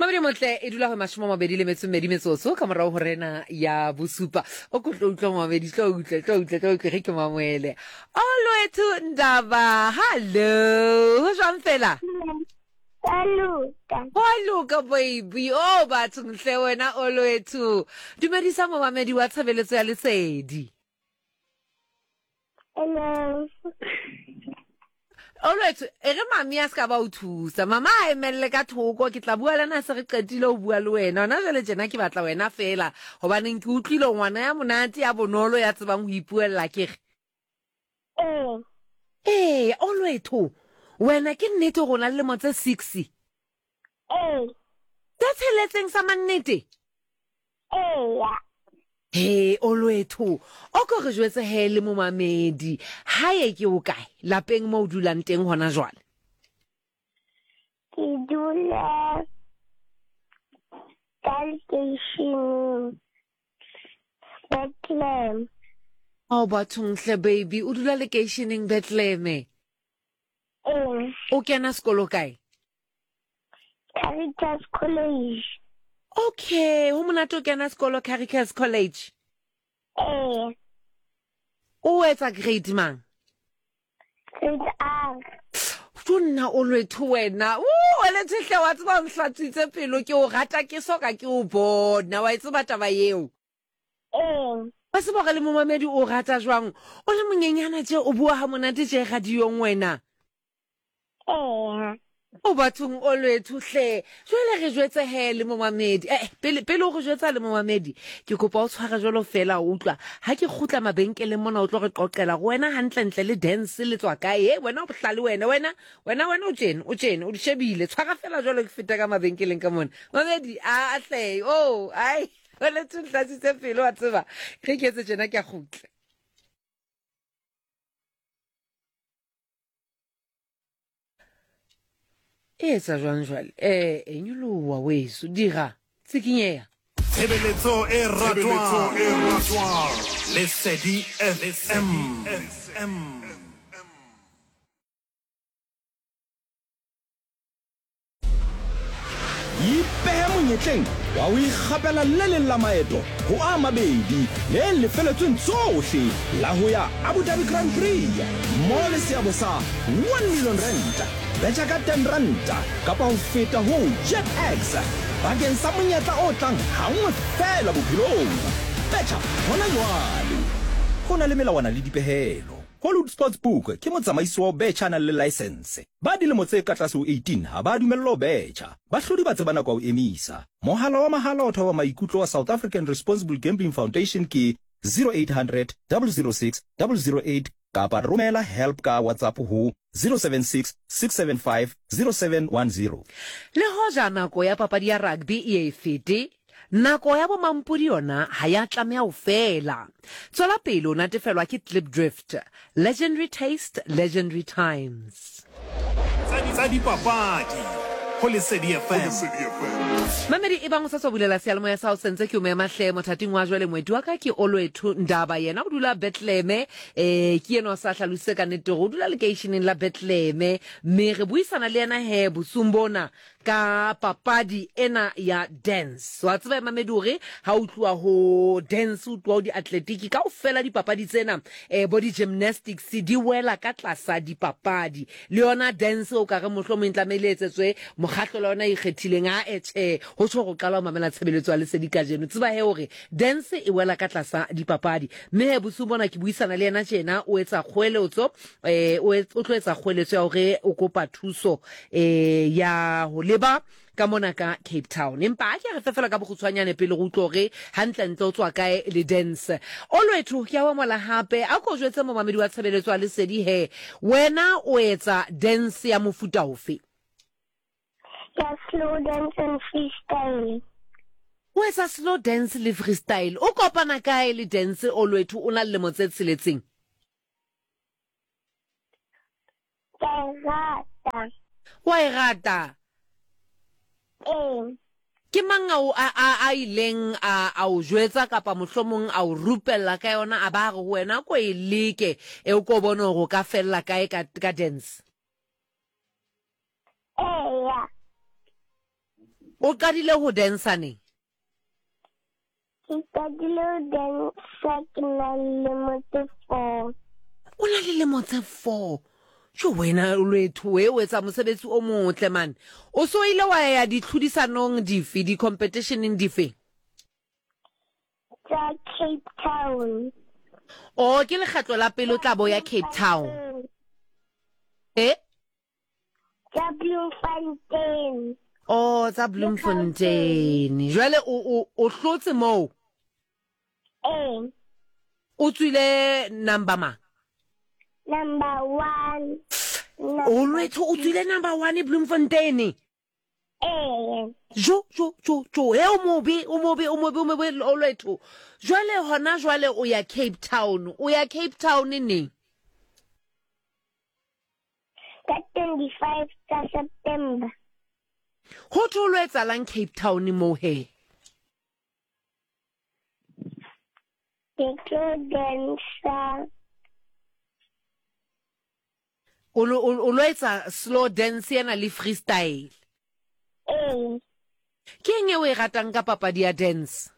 Mabedi motle e dula go 28 metsotso ka morago go rena ya bosupa. O ko tlo utlwa momamedi, tlo utlwe, tlo utlwe, tlo utlwe ge ke mamoele. Olwethu Ndaba, hallo, ho jwang fela? Wa loka. Wa loka baby, oh bathong hle wena Olwethu. Dumedisa momamedi wa tshebeletso ya Lesedi. Hello. Olwethu, e re mami a se ka ba o thusa. Mama a emelle ka thoko, ke tla bua le na se re qetile ho bua le wena. Hona jwale tjena ke batla wena feela, hobaneng ke utlwile o ngwana ya monate, ya bonolo, ya tsebang ho ipuella ke re. Ee. Ee, Olwethu, wena ke nnete hore o na le lemo tse 6? Ee. Tse tsheletseng sa mannete? Eya. He, Olwethu, o ko re jwetse he le momamedi, hae ke o kae, lapeng mo o dulang teng hona jwale? Ke dula ka lekeisheneng Bethlehem. Oh bathong hle baby, o dula lekeisheneng Bethlehem? Ee. O kena sekolo kae? Caritas College. Okay, ho monate o kena sekolo Caritas College. Ee. O etsa grade mang? Grade R. To nna o lwetho wena. O olwetho hle wa tseba o nhlatswitse pelo ke o rata ke soka ke o bona. Wa e tseba taba yeo? Ee. Wa tseba gore le momamedi o rata jwang? O le monyenyana tše o bua ha monate tše radiong wena. Eya. O bathong Olwethu hle. Jwale re jwetse he le momamedi. Eh, pele pele o re jwetsa le momamedi, ke kopa o tshware jwalo fela o utlwa. Ha ke kgutla mabenkeleng mona o tlo re qoqela gore wena hantlentle le dance le tswa kae. He wena o bohlale wena, wena wena wena o tjena, o tjena, o di shebile. Tshwara fela jwalo ke feta ka mabenkeleng ka mona. Mamedi a hle. Oh, ai. Olwethu ntlatsitse pelo wa tseba. Ge ke etse tjena ke a kgutla. E etsa jwang jwale? Eh, e nyoloha weso, dira, tsikinyeha. Tshebeletso e ratwang Lesedi FM. Ipehe monyetleng wa ho ikgapela le leng la maeto ho a mabedi le lefeletsweng tsohle la ho ya Abu Dhabi Grand Prix mmoho le seabo sa R1 million. Betjha ka R10 kapa ho feta ho JetX bakeng sa monyetla o tlang hanngwe feela bophelong. Betjha hona jwale! Ho na le melawana le dipehelo. Hollywood Sportsbook ke motsamaisi wa ho betjha a nang le laesense. Ba dilemo tse ka tlase ho 18 ha ba dumellwa ho betjha. Bahlodi ba tseba nako ya ho emisa. Mohala wa mahala wa thoba maikutlo wa South African Responsible Gambling Foundation ke 0800 006 008 kapa romela help ka WhatsApp ho 076 675 0710. Le hoja nako ya papadi ya rugby e ye e fete, Nako ya bomampodi yona ha ya tlameha ho fela. Tswela pele o natefelwa ke Klipdrift. Legendary taste, legendary times. Tsa dipapadi ho Lesedi FM. Mamedi, ebang o sa tswa bulela seyalemoya sa hao sentse ke o mema hle mothating wa jwale. Moeti wa ka ke Olwethu Ndaba, yena o dula Bethlehem. Eh, ke yena o sa hlalositse ka nnete hore o dula lekeisheneng la Bethlehem, mme re buisana le yena he bosung bona ka papadi ena ya dance. Wa tseba Mamedi hore ha o tluwa ho dance, o tluwa ho diatletiki, kaofela dipapadi tsena eh, bo di-gymnastics di wela ka tlasa dipapadi. Le yona dance o ka re mohlomong e tlamehile e etsetswe mokgahlo la yona e ikgethileng. A e tjhe, ho tjho go qala ho mamela tshebeletso ya Lesedi kajeno. Tseba he hore dance e wela ka tlasa dipapadi. Mme he bosiu bona ke buisana le yena tjena, o etsa kgoeletso, eh, o tlo etsa kgoeletso ya hore o kopa thuso eh, ya ho leba ka mona ka Cape Town. Empa a ke re fe fela ka bokgutshwanyane pele re utlwe hore hantlentle o tswa kae le dance. Olwethu, ke a o amohela hape. A ko jwetse momamedi wa tshebeletso ya Lesedi he, wena o etsa dance ya mofuta ofe? Ya slow dance and freestyle. O etsa slow dance le freestyle. O kopana kae le dance, Olwethu, o na le lemo tse tsheletseng? Ke a e rata. Wa e rata? Ee. Ke mang a o a a a ileng a a o jwetsa kapa mohlomong a o rupella ka yona a ba a re ho wena ko e leke e o ko bone hore o ka fella kae ka ka dance? Eya. O qadile ho dansa neng? Ke qadile ho dansa ke na le lemo tse 4. O na le lemo tse 4. Jo wena Olwethu we o etsa mosebetsi o motle man. O so ile wa ya ditlhodisanong dife, di-competitioneng dife? Tsa Cape Town. Oh, ke lekgetlo la pele o tla bo ya Cape Town. Eh? Tsa Bloemfontein. Oh, tsa Bloemfontein. Jwale o o o hlotse moo? Ee. O tswile number mang? Number 1. Olwethu o tswile number 1 Bloemfontein. Ee. Jo jo jo jo, he o mobe, o mobe, o mobe, o mobe Olwethu. Jwale hona jwale o ya Cape Town. O ya Cape Town neng? Ka 25 tsa September. Ho thwe o lo etsalang Cape Town moo he? Ke tlo dansa. O lo o lo etsa slow dance ena le freestyle. Ee. Ke eng e o e ratang ka papadi ya dance?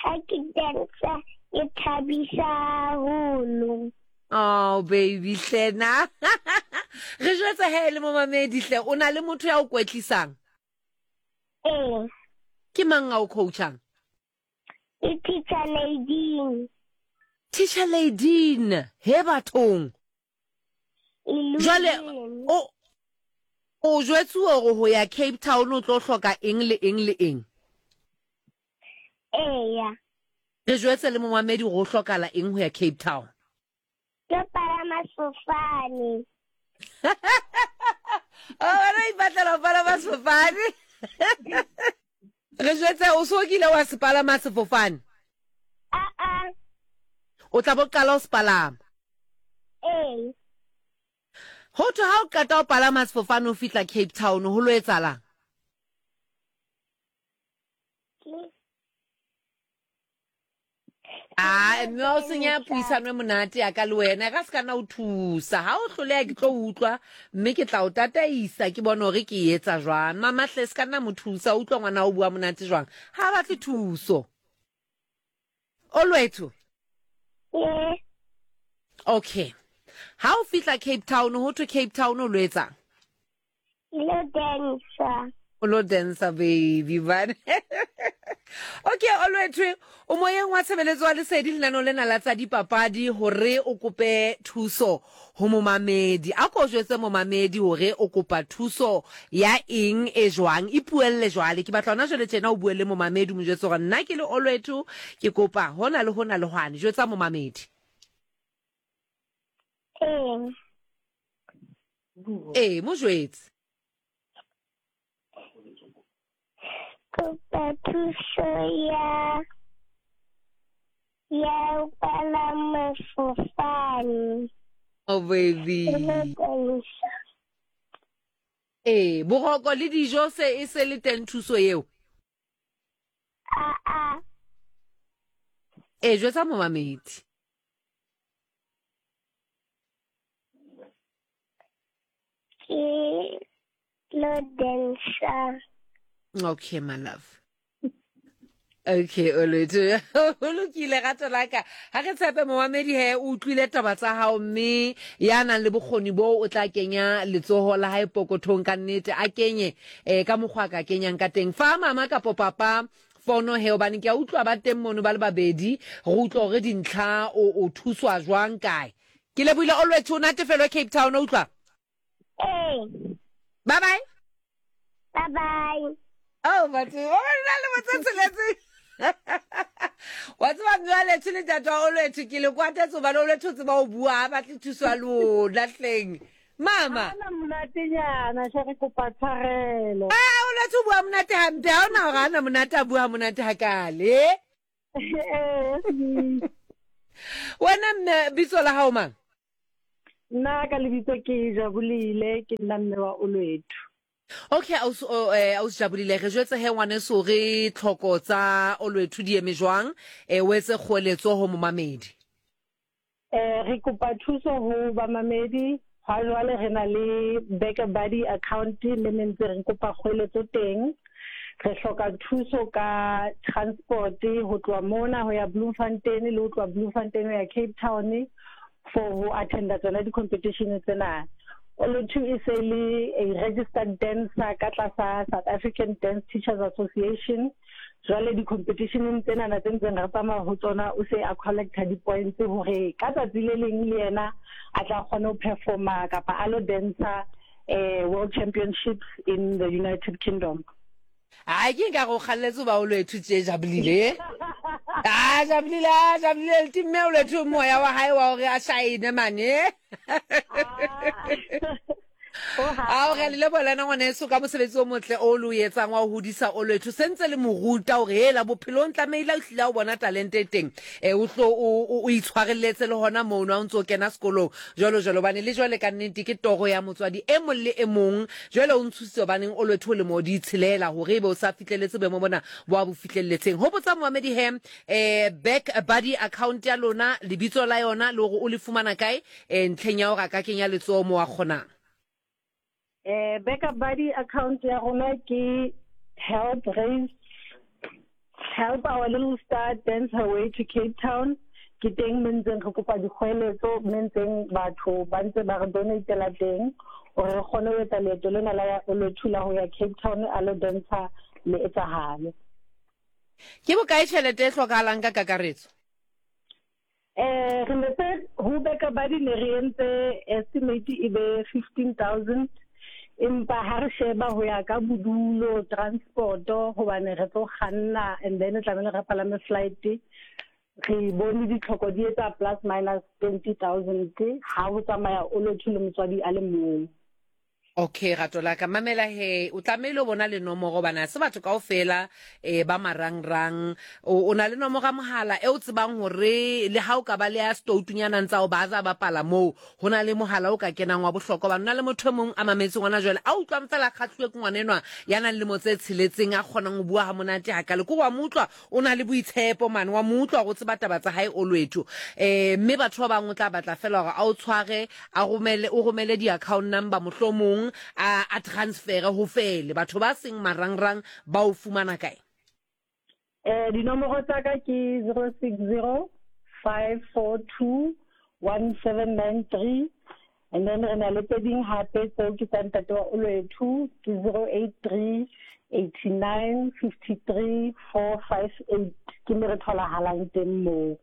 Ha ke dansa ke thabisa haholo. Oh baby hle na. Re jwetse he le momamedi hle o na le motho ya o kwetlisang? Ee. Ke mang a o coachang? Ke Teacher Nadine. Teacher Nadine, he bathong. Jwale o o jwetsuwe hore ho ya Cape Town o tlo hloka eng le eng le eng? Eya. Re jwetse le momamedi hore ho hlokala eng ho ya Cape Town. Ke palama sefofane. Oh, wena o ipatlela ho palama sefofane. Re jwetse o so kile wa se palama sefofane? A-a. O tla bo qala ho se palama. Ee. Ho thwe ha o qeta ho palama sefofane o fihla Cape Town ho lo etsalang? A mme o senya puisano e monate ya ka le wena ka se ka na o thusa ha o hloleha ke tlo utlwa mme ke tla o tataisa ke bone hore ke e etsa jwang. Mama hle se ka nna mo thusa utlwa ngwana o bua monate jwang ha batle thuso. Olwethu. Ee. Okay. Ha o fihla Cape Town ho thwe Cape Town o lo etsang? Ke lo dansa. O lo dansa baby man. Okay Olwethu o moyeng wa tshebeletso wa Lesedi lenaneo lena la tsa dipapadi hore o kope thuso ho momamedi. A ko jwetse momamedi hore o kopa thuso ya eng e jwang. Ipuelle jwale. Ke batla hona jwale tjena o bue le momamedi o mo jwetse hore nna ke le Olwethu ke kopa hona le hona le hwane. Jwetsa momamedi. Ee. Ee, mo jwetse. Kopa thuso ya ya ho palama sefofane. Oh baby. Ee, boroko le dijo se e se le teng thuso eo. A a. Ee, jwetsa momamedi. Ke lo dansa. Okay, my love. Okay, Olwethu. Ho lokile rato la ka. Ha re tshepe momamedi he o utlwile taba tsa hao mme ya nang le bokgoni bo o tla kenya letsoho la hae pokothong ka nnete a kenye eh ka mokgwa ka kenyang ka teng. Fa mama kapo papa fono he hobane ke a utlwa ba teng mono ba le babedi re utlwa hore dintlha o o thuswa jwang kae. Ke lebohile Olwethu o natefelwe Cape Town o utlwa. Ee. Bye bye. Bye bye. Oh, batho, o nna le botse tsheletse. Wa tseba mme wa Lethu le ntate wa Olwethu ke le kwatetse hobane Olwethu o tseba ho bua ha batle thuso ya lona hleng. Mama. Ana monatenyana hle re kopa tshwarelo. Ah, Olwethu o bua monate hampe ha ona hore ana monate a bua monate hakale. Eh. Wena mme bitso la hao mang? Nna ka lebitso ke Jabulile, ke nna mme wa Olwethu. Okay, ausi eh, ausi Jabulile, re jwetse he ngwaneso re tlhoko tsa Olwethu di eme jwang, eh, o etse kgoeletso ho momamedi. Eh, re kopa thuso ho bamamedi. Hwa jwale re na le BackaBuddy account le ne ntse re kopa kgweletso teng. Re hloka thuso ka transport ho tloha mona ho ya Bloemfontein le ho tloha Bloemfontein ho ya Cape Town for ho attenda tsona di-competition tsena. Olwethu e se le a registered dancer ka tlasa South African Dance Teachers Association. Jwale di-competitioneng tsenana tse ntseng re tsamaya ho tsona o se a collecta di-points hore ka tsatsi le leng le yena a tla kgone ho performa kapa a lo dancer eh, World Championships in the United Kingdom. Ai ke nka go kgalletse ba Olwethu tše Jabulile. Ah Jabulile, ah Jabulile le timme Olwethu moya wa hae wa hore a shine mane. Ao re a le leboha le wena ngwaneso ka mosebetsi o motle o le o etsang wa ho hodisa Olwethu. Sentse le mo ruta hore hela bophelong tlamehile o hlile ha o bona talente e teng eh, o hlo o itshwarelletse le hona mono ha o ntso o kena sekolong jwalo jwalo, hobane le jwale ka nnete ke toro ya motswadi e mong le e mong. Jwale o ntshositse hobaneng Olwethu o lemo di tshelela hore ebe o sa fihlelletse boemo bona bo a bo fihlelletseng. Hopotsa momamedi he eh, back buddy account ya lona, lebitso la yona le hore o le fumana kae eh, ntlheng ya hore a ka kenya letsoho mo a kgonang. Eh, backup buddy account ya rona ke help raise help our little star dance her way to Cape Town. Ke teng mo ntseng re kopa dikgoeletso mme ntseng batho ba ntse ba re donatela teng hore re kgone ho etsa leeto lena la Olwethu la ho ya Cape Town a lo dantsha le etsahale. Ke bokae tjhelete e hlokahalang ka kakaretso? Eh, re ne se ho beka ba di ne re entse estimate e be 15000 empa ha re sheba ho ya ka bodulo transport hobane re tlo kganna and then tlamehile re palame flight re bone ditlhoko di etsa plus minus 20000 ha ho tsamaya o lotho le motswadi a le mong. Okay rato la ka mamela he o tlamehile o bona le nomoro bana se batho kaofela eh ba marangrang o o na le nomoro ya mohala e o tsebang hore le ha o ka ba le ya stoutunyana ntsa o ba za bapala moo ho na le mohala o ka kenang wa bohlokwa ba nna le motho e mong a mametse ngwana jwale a utlwang fela a kgahluwe ke ngwana enwa ya nang lemo tse tsheletseng a kgonang ho bua ha monate hakale ko wa mo utlwa O na le boitshepo mane, wa mo utlwa gore o tseba taba tsa hae Olwethu. Eh, mme batho ba bang o tla batla fela gore a o tshware, a romele, o romele di-account number mohlomong, a, a transfere ho fele. Batho ba seng marangrang ba o fumana kae? Eh, dinomoro tsa ka ke 060 542 1793 And then re na le tse ding hape tseo ke tsa ntate wa Olwethu ke 083 89 53 458 ke me re tholahalang teng moo.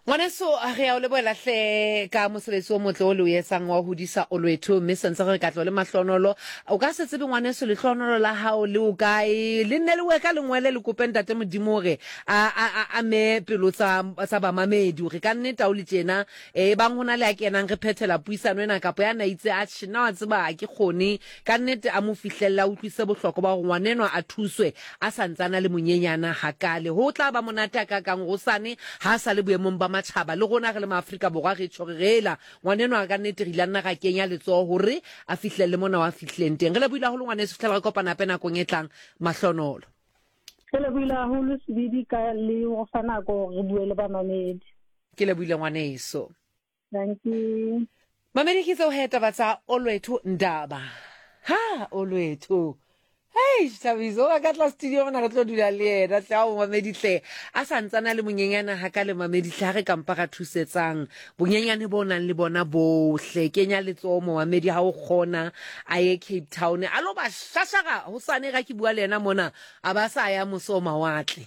Ngwaneso re ya o lebohela hle ka mosebetsi o motle o le o etsang wa ho hodisa Olwethu mme sentse re ka tlo le mahlonolo o ka se tsebe ngwaneso lehlonolo la hao le o kae le nne le we ka lengwele le kope ntate Modimo hore a a a me pelo tsa tsa bamamedi hore ka nnete ha o le tjena E bang ho na le a kenang re phethela puisano ena kapa ya na itse, Atjhe, nna wa tseba ha ke kgone. Ka nnete a mo fihlelle a utlwisise bohlokwa ba hore ngwanenwa a thuswe a sa ntse a na le monyenyana hakaale. Ho tla ba monate hakakang hosane ha a sa le boemong ba matjhaba le rona re le Maafrika Borwa re tjho re re hela ngwanenwa ka nnete re ile nna ra kenya letsoho hore a fihlelle mona wa fihlileng teng. Re lebohile haholo ngwaneso ho fihlela re kopana hape nakong e tlang. Mahlonolo. Re lebohile haholo Sebidi ka le ho fa nako hore re bue le bamamedi. Ke lebohile ngwaneso. Dankie. Mamedi ke tseo he taba tsa Olwethu Ndaba. Ha Olwethu. Hey, Thabiso, o ka tla studio mona re tlo dula le yena tle ao mamedi hle. A sa ntsana le monyenyana ha ka le mamedi hle ha re kampa ra thusetsang. Bonyenyane bo nang le bona bohle. Kenya letsoho mo mamedi ha o kgona a ye Cape Town. A lo ba shashara hosane ga ke bua le yena mona a ba sa ya mose o mawatle.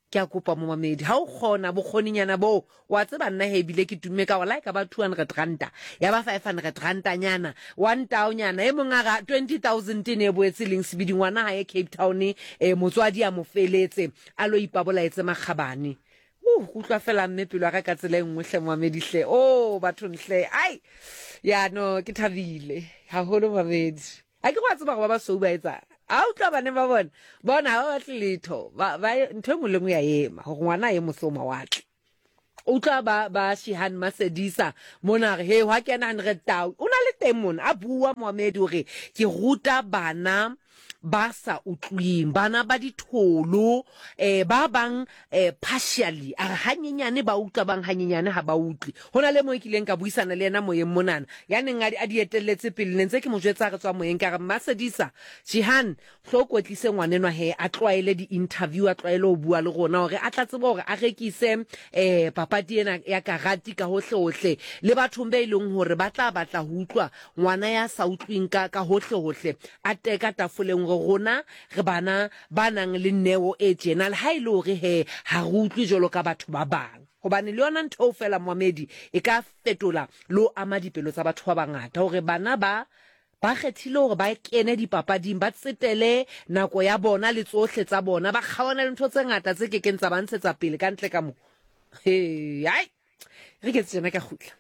Ke a kopa momamedi, ha o kgona, bokgoninyana boo, wa tseba nna he ebile ke tumme ka gore la e ka ba 200 ranta, ya ba 500 rantanyana, one taonyana, e mong a ra 20,000 e ne e boetse leng sebidi ngwana ha ye Cape Town, eh, motswadi a mo feletse, a lo ipabolaetse makgabane. Uh, ke utlwa fela mme pelo ya ka ka tsela e nngwe hle momamedi hle. Oh, bathong hle. Ai. Ya no, ke thabile haholo momamedi. A ke go a tseba go ba basweu ba etsang. A utlwa bane ba bona, bona ga ba batle letho. Ba, ba, ntho e nngwe le nngwe ya ema, gore ngwana a ye mose o mawatle. Utlwa ba, ba Shihan Masedisa mona re, he, hwa kena 100 tau. O na le teng mona, a bua Mohamedi hore ke ruta bana. ba sa utlwing, bana ba ditholo, eh, ba bang eh, partially, a re hanyenyane ba utlwa, bang hanyenyane ha ba utlwe. Ho na le mo e kileng ka buisana le yena moyeng monana, ya neng a di etelletse pele, ne ntse ke mo jwetsa re tswa moyeng, ka re, Mmasedisa, Jihan, hlo o kwetlise ngwanenwa he a tlwaele di-interview, a tlwaele ho bua le rona hore a tla tseba hore a rekise eh, papadi ena ya karate ka hohlehohle le bathong be e leng hore ba tla batla ho utlwa ngwana ya sa utlweng ka, ka hohlehohle a teka tafoleng hore rona re bana ba nang le neo e tjena, le ha e le hore he ha re utlwe jwalo ka batho ba bang. Hobane le yona ntho eo feela, moamedi, e ka fetola le ho ama dipelo tsa batho ba bangata, hore bana ba ba kgethile hore ba kene dipapading, ba tsetele nako ya bona le tsohle tsa bona, ba kgaohane le ntho tse ngata tse ke keng tsa ba ntshetsa pele ka ntle ka mo. He, ai! Re ke tjena ka kgutla.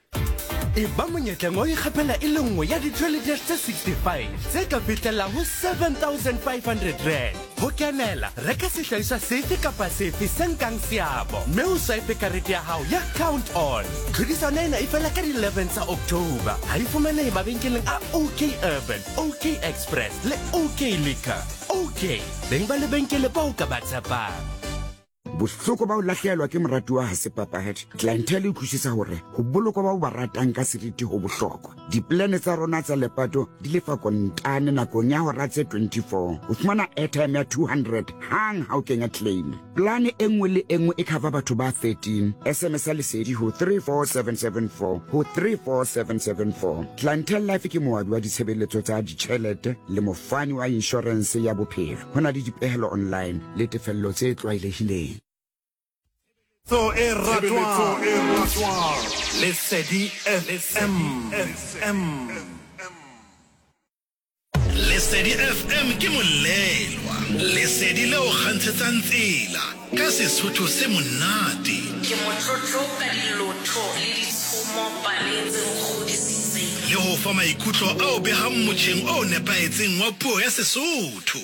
E ba monyetleng wa ho ikgapela e le nngwe ya di-trolley dash tse 65 tse ka fihlelang ho R7500. Ho kenela, reka sehlahiswa sefe kapa sefe se nkang seabo mme o swipe karete ya hao ya Count On. Tlhodisano ena e fela ka di 11 tsa October. Ha e fumanehe mabenkeleng a OK Urban, OK Express le OK Liquor. OK, beng ba lebenkele bao ka ba tshepang. Bohloko ba ho lahlehelwa ke moratuwa ga se papadi. Clientele e utlwisisa hore ho bolokwa ba o ba ratang ka seriti ho bohlokwa. Dipolane tsa rona tsa lepato di lefa kontane nakong ya hora tse 24. O fumana airtime ya 200 hang ha o kenya claim. Polane e nngwe le e nngwe e cover batho ba 13. SMS-a Lesedi ho 34774 ho 34774. Clientele Life ke moabi wa ditshebeletso tsa ditjhelete le mofani wa inshorense ya bophelo. Ho na le dipehelo online le tefello tse tlwaelehileng. Tshebetso e ratwang Lesedi FM. Lesedi FM ke molelwa, lesedi le o kgantshetsang tsela ka Sesotho se monate. Ke motlotlo ka dilotho le ditshomo pale tse nkgodisitseng. Le ho fa maikutlo a o behang motjheng o nepahetseng wa puo ya Sesotho.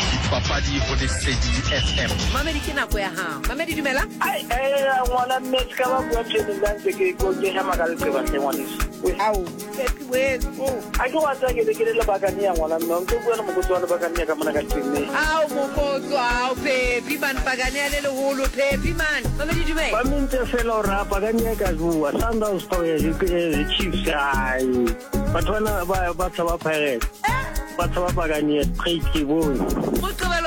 Dipapadi ho Lesedi FM. Mamedi ke nako ya hao. Mamedi dumela. Ai eh ngwana mme se ka ba bua tjena nna ntse ke ko ke hema ka leqeba hle ngwaneso. Ao, Pepi weso. A ke wa tsaya ke be ke le lebakane ya ngwana mme o ntse bua le mokotsi wa lebakane ya ka mona ka tlung. Ao mokotso ao Pepi man pakane ya le leholo Pepi man. Mamedi dumela. Ba mentse fela hore a pakane ya ka bua Sundowns eh, Chiefs ai. Batho bana ba ba tshaba Pirates. Ba tshaba pakane ya straight ke bone. Moqebelo